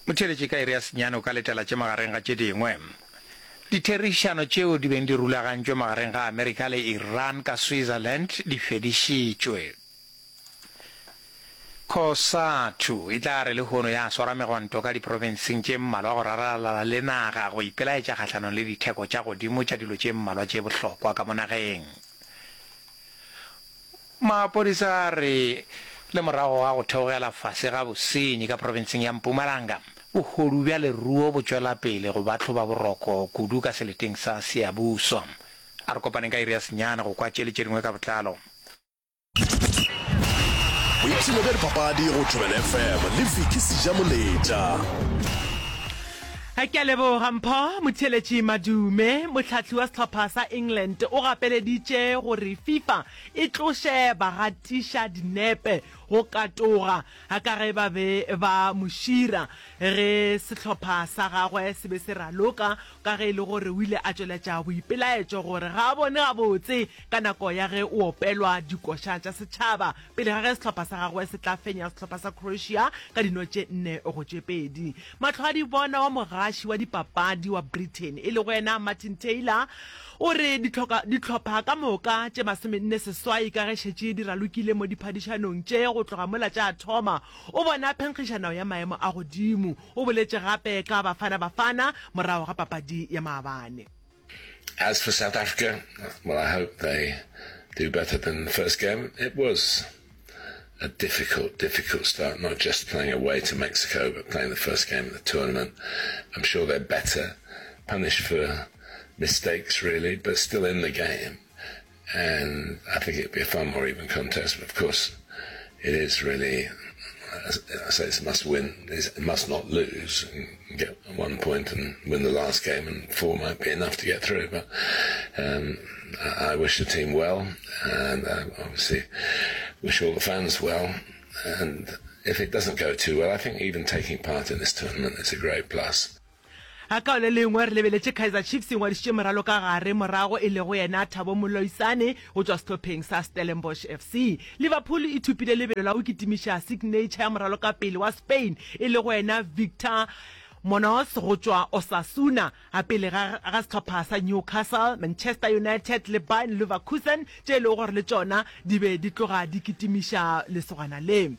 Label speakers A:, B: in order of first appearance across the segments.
A: Motheeletši ka iri ya senyane o ka letela tše magareng ga tše dingwe. Ditherišano tšeo di beng di rulagantšwe magareng ga Amerika le Iran ka Switzerland di fedišitšwe. Cosatu e tla re lehono ya swara megwanto ka diprofenseng tše mmalwa go raralala le naga go ipelaetša kgahlanong le ditheko tša godimo tša dilo tše mmalwa tše bohlokwa ka mo nageng. Maphodisa a re le morago ga go theogela fase ga bosenyi ka profenseng ya Mpumalanga, bohodu bja leruo bo tšwela pele go ba hloba boroko kudu ka seleteng sa Siyabuswa. A re kopaneng ka iri ya senyane go kwa tše le tše dingwe ka botlalo.
B: Boipshino bja dipapadi go Thobela FM le Vicky Sejamoletša.
C: Ke a leboga Mpho. Motheeletši Madume, mohlahli wa sehlopha sa England o gapeleditše gore FIFA e tloše bagatiša dinepe go katoga ka ge ba be ba mo šira ge sehlopha sa gagwe se be se raloka ka ge e le gore o ile a tšweletša boipelaetšo gore ga a bone gabotse ka nako ya ge o opelwa dikoša tša setšhaba pele ga ge sehlopha sa gagwe se tla fenya sehlopha sa Croatia ka dino tše nne go tše pedi. Mahlwadibona wa mogaši wa dipapadi wa Britain e lego yena Martin Taylor o re dihlopha ka moka tše 48 ka ge šetše di ralokile mo diphadišanong tše go tloga mola tša thoma, o bona phenkgišano ya maemo a godimo. O boletše gape ka Bafana Bafana morago ga papadi ya maabane.
D: As for South Africa, well I hope they do better than the first game. It was a difficult, difficult start, not just playing away to Mexico, but playing the first game of the tournament. I'm sure they're better, punished for mistakes really, but still in the game. And I think it'd be a far more even contest. But of course, it is really, I say it's a must win, it's must not lose and get one point and win the last game, and four might be enough to get through. But um, I, I wish the team well, and I obviously wish all the fans well. And if it doesn't go too well, I think even taking part in this tournament is a great plus.
C: Ka le lengwe re lebeletše Kaizer Chiefs e ngwadišitše moralokagare morago e lego yena Thabo Moloisane go tšwa sehlopheng sa Stellenbosch FC. Liverpool e thopile lebelo la go kitimiša signature ya moralokapele wa Spain e lego yena Victor Munoz go tšwa Osasuna pele ga ga sehlopha sa Newcastle, Manchester United le Bayern Leverkusen tše e lego gore le tšona di be di tloga di kitimiša lesogana le.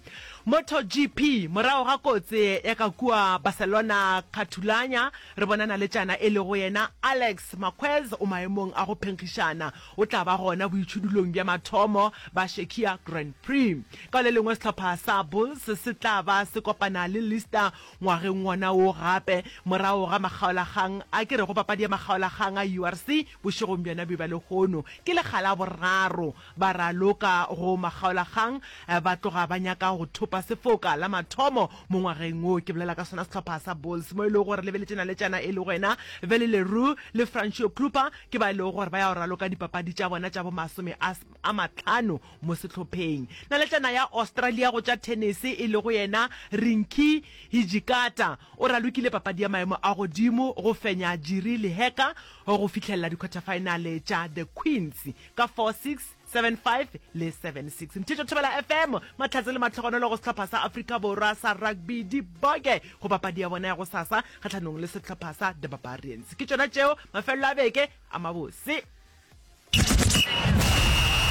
C: MotoGP, Morago ga kotse ya ka kua Barcelona Catulanya, re bona naletšana e lego yena Alex Marquez o maemong a go phenkgišana. O tla ba gona boitšhudulong bja mathomo ba Czechia Grand Prix. Ka le lengwe sehlopha sa Bulls se tla ba se kopana le Leicester ngwageng wona wo gape morago ga makgaolakgang a ke rego papadi ya makgaolakgang a URC bošegong bjona bjo bja lehono. Ke lekga la boraro Ba raloka go makgaolakgang, ba tloga ba nyaka go thopa sefoka la mathomo mo ngwageng wo. Ke bolela ka sona sehlopha sa Bulls mo e lego gore lebeletše naletšana e lego yena Veli le Roux le Francois Kruper ke ba e lego gore ba ya go raloka dipapadi tša bona tša bomasome a a mahlano mo sehlopheng. Naletšana ya Australia go tša thenese e lego yena Rinky Hijikata o ralokile papadi ya maemo a godimo go fenya Jiri Lehecka go fihlelela dikhwathafaenale tša The Queens ka 4-6, 7-5 le 7-6. Mthetho Thobela FM, mahlatse le mahlogonolo go sehlopha sa Afrika Borwa sa rugby di boke go papadi ya bona ya gosasa kgahlanong le sehlopha sa The Barbarians. Ke tšona tšeo, mafelelo a beke a mabose.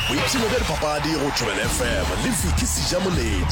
B: Boipshino bja dipapadi go Thobela FM le Vicky Sejamoletša.